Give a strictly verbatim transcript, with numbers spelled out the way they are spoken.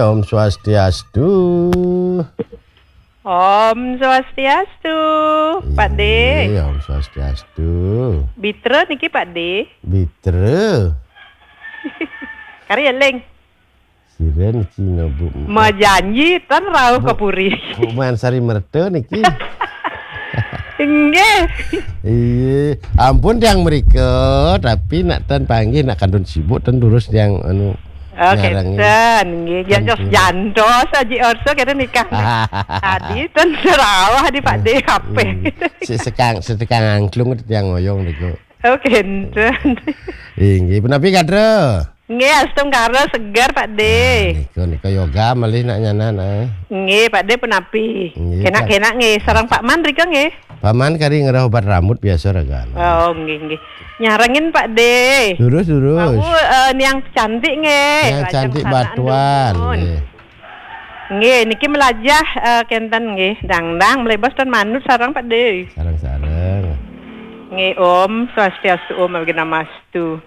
Om Swastiastu. Om Swastiastu, Pak De. Iya, Om Swastiastu. Bitra niki, Pak De. Bitra. Kari eling. Siren Cina Bu. Majanji tan rauh ke puri. Bu Mansari Merta niki. Inggih. Iya, ampun tiang mereka, tapi nak tan panggih nak kandun sibuk tan durus tiang anu Oh, nyarangi. Kenten, nggih. Jantos, Kenten. Jantos aji orso kata nikah. Tadi tan serawah di Pak De apa? Hmm. Si sekang setekang angklung tiang ngoyong niku. Oh, kenten. Inggih, punapi kadra? Nggih, astungkara seger, Pak De. Niku niku yoga malih nak nyanan ah. Nggih, Pak De punapi. Nggih, Kenak-kenak nggih, sareng Pak Man rika nggih. Paman kari ngerah obat rambut biasa ragan. Oh, nggih nggih. Nyarengin, Pak De. Durus durus. Aku eh, niang cantik nggih. Yang Lajeng cantik sanak batuan. Andun. Nggih. Nggih, niki melajah eh, kenten nggih. Dangdang melebas dan manut sareng, Pak De. Sarang-sarang. Nggih, Om Swastiastu, Om Awighnamastu.